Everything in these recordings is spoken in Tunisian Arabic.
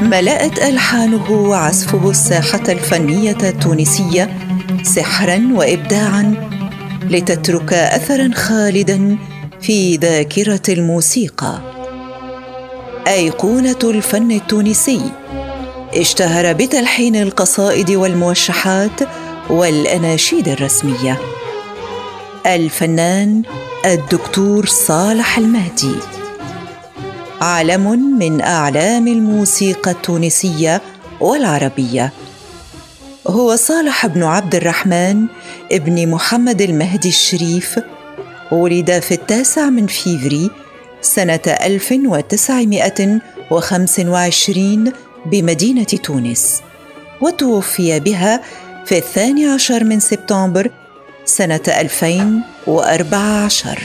ملأت ألحانه وعزفه الساحة الفنية التونسية سحراً وإبداعاً، لتترك أثراً خالداً في ذاكرة الموسيقى. أيقونة الفن التونسي، اشتهر بتلحين القصائد والموشحات والأناشيد الرسمية. الفنان الدكتور صالح المهدي، علم من أعلام الموسيقى التونسية والعربية. هو صالح بن عبد الرحمن ابن محمد المهدي الشريف، ولد في 9 فيفري سنة 1925 بمدينة تونس، وتوفي بها في 12 سبتمبر سنة 2014.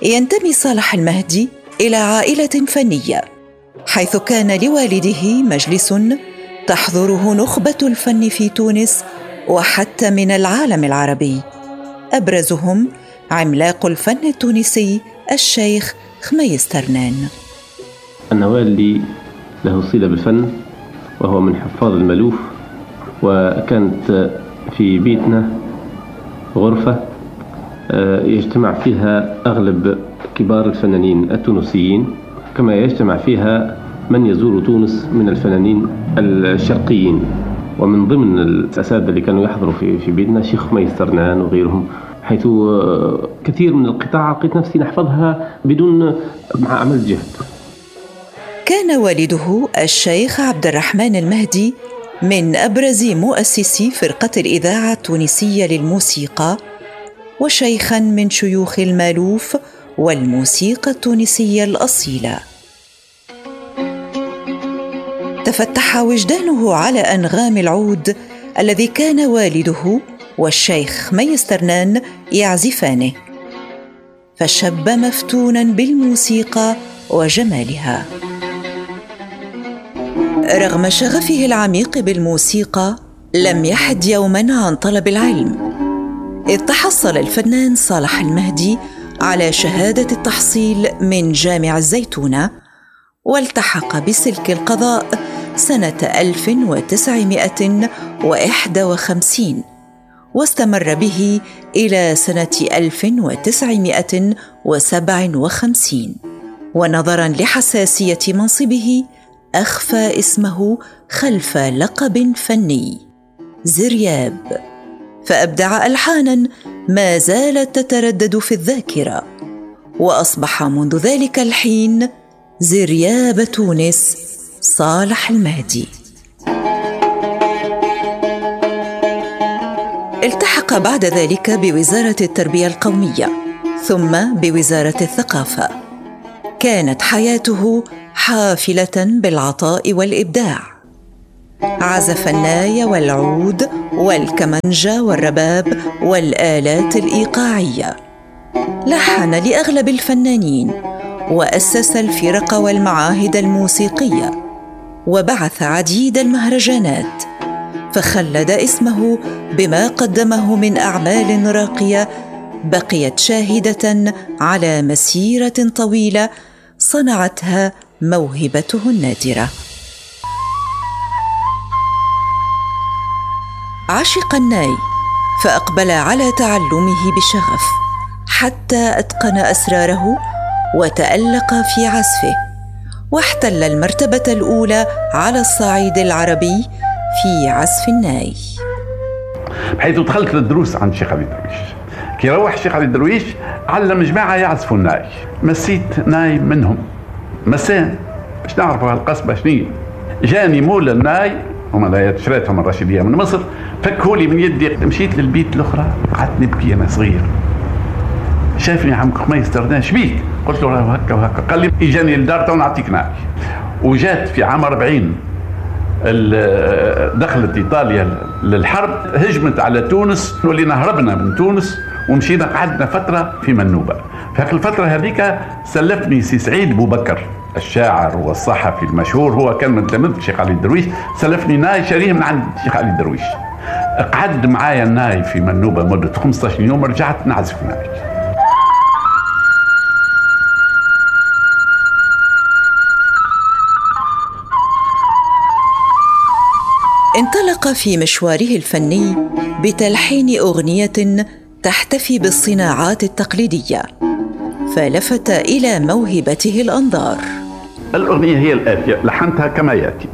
ينتمي صالح المهدي إلى عائلة فنية، حيث كان لوالده مجلس تحضره نخبة الفن في تونس وحتى من العالم العربي، أبرزهم عملاق الفن التونسي الشيخ خميس ترنان. أن والدي له صلة بالفن، وهو من حفاظ المالوف، وكانت في بيتنا غرفة يجتمع فيها أغلب كبار الفنانين التونسيين، كما يجتمع فيها من يزور تونس من الفنانين الشرقيين. ومن ضمن الأساتذة اللي كانوا يحضروا في بيتنا شيخ خميس ترنان وغيرهم، حيث كثير من القطاع لقيت نفسي نحفظها بدون مع عمل جهد. كان والده الشيخ عبد الرحمن المهدي من أبرز مؤسسي فرقة الإذاعة التونسية للموسيقى، وشيخاً من شيوخ المالوف والموسيقى التونسية الأصيلة. تفتح وجدانه على أنغام العود الذي كان والده والشيخ خميس ترنان يعزفانه، فشب مفتوناً بالموسيقى وجمالها. رغم شغفه العميق بالموسيقى، لم يحد يوماً عن طلب العلم، إذ تحصل الفنان صالح المهدي على شهادة التحصيل من جامع الزيتونة، والتحق بسلك القضاء سنة 1951، واستمر به إلى سنة 1957. ونظراً لحساسية منصبه، أخفى اسمه خلف لقب فني زرياب، فأبدع ألحاناً ما زالت تتردد في الذاكرة، وأصبح منذ ذلك الحين زرياب تونس صالح المهدي. التحق بعد ذلك بوزارة التربية القومية، ثم بوزارة الثقافة. كانت حياته حافلة بالعطاء والإبداع. عزف الناي والعود والكمنجة والرباب والآلات الإيقاعية، لحن لأغلب الفنانين، وأسس الفرق والمعاهد الموسيقية، وبعث عديد المهرجانات، فخلد اسمه بما قدمه من أعمال راقية بقيت شاهدة على مسيرة طويلة صنعتها موهبته النادرة. عشق الناي، فأقبل على تعلمه بشغف حتى أتقن أسراره وتألق في عزفه، واحتل المرتبة الأولى على الصعيد العربي في عزف الناي. بحيث دخلت للدروس عند الشيخ علي درويش. كي روح الشيخ علي درويش علم جماعة يعزفوا الناي، مسيت ناي منهم مسان باش نعرفوا هالقصبة شنية. جاني مول الناي، هما لا شريتهم الرشيدية من مصر، فكهولي من يدي. مشيت للبيت الأخرى قعدت نبكي أنا صغير. شافني عم خميس ترنان، شبيك؟ قلت له راه هكا وهكا. قال لي اجاني للدار تو نعطيك ناي. وجات في عام 40 دخلت إيطاليا للحرب، هجمت على تونس، ولينا هربنا من تونس ومشينا قعدنا فترة في منوبة. في الفترة هذيك سلفني سي سعيد بوبكر الشاعر والصحفي المشهور، هو كان من تلاميذ الشيخ علي الدرويش، سلفني ناي شاريه من عند الشيخ علي الدرويش. قعد معايا الناي في منوبة مدة 15 يوم، رجعت نعزف ناي. انطلق في مشواره الفني بتلحين أغنية تحتفي بالصناعات التقليدية، فلفت إلى موهبته الأنظار. الأغنية هي الآتية، لحنتها كما يأتي.